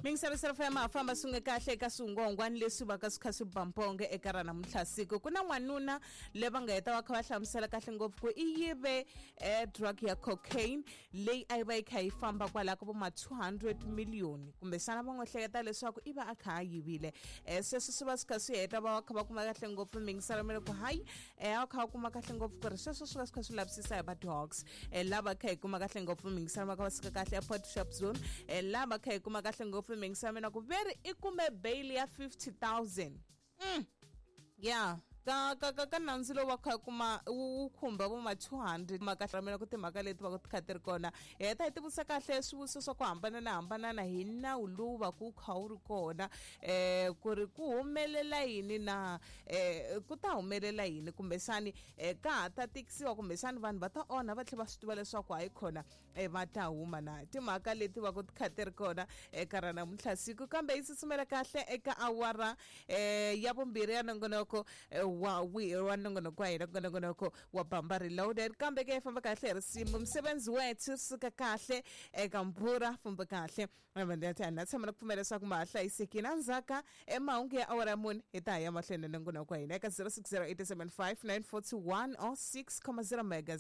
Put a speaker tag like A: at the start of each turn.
A: Mingiselo FM ha famba swi nga kahle eka swingongwani leswi va ka swi kha swi bamponge eka ra namuntlha siku. Ku na n'wanuna le va nga heta va kha va hlamusela kahle ngopfu ku i yive drug ya cocaine leyi a yi va yi kha yi famba kwalaho ka vo ma 200 million, kumbexana va n'wi hleketa leswaku i va a kha a yivile. Sweswo swi va swi kha swi heta va va kha va kuma kahle ngopfu mingiselo mi ku hayi, a kha va kuma kahle ngopfu ku ri sweswo swi va swi kha swi lavisisa hi va dogs. Lava kha hi kuma kahle ngopfu mingiselo va kha va suka kahle airport shop zone. Lava kha hi kuma kahle ngopfu mingiselo mina ku veri i kume bail ya 50,000. Ya ka nandzu lowu va kha kuma wu khumba vo ma 200 maka mina ku timhaka leti va ku ti kha ti ri kona. Hi heta hi tivutisa kahle swivutiso swa ku hambanana hambanana hi nawu lowu va ku kha wu ri kona, ku ri ku humelela yini na ku ta humelela yini, kumbexani ka ha ta tikisiwa, kumbexani vanhu va ta onha va tlhela va swi tiva leswaku hayi khona va ta huma na timhaka leti va ku ti kha ti ri kona eka ra namuntlha siku. Kambe yi tsutsumela kahle eka awara ya vumbirhi ya nongonoko wa nongonoko wa hina, nongonoko wa Bamba Reloaded. Kambe ke famba kahle hi risimu msebenzi wethu suka kahle eka mpfura famba kahle na tshama na ku pfumela leswaku ma ha hlayisekile. Endzhaka emahungu ya awara ya 4 hi ta ya mahlweni na nongonoko wa hina eka 0608759421 or 6,0 megas.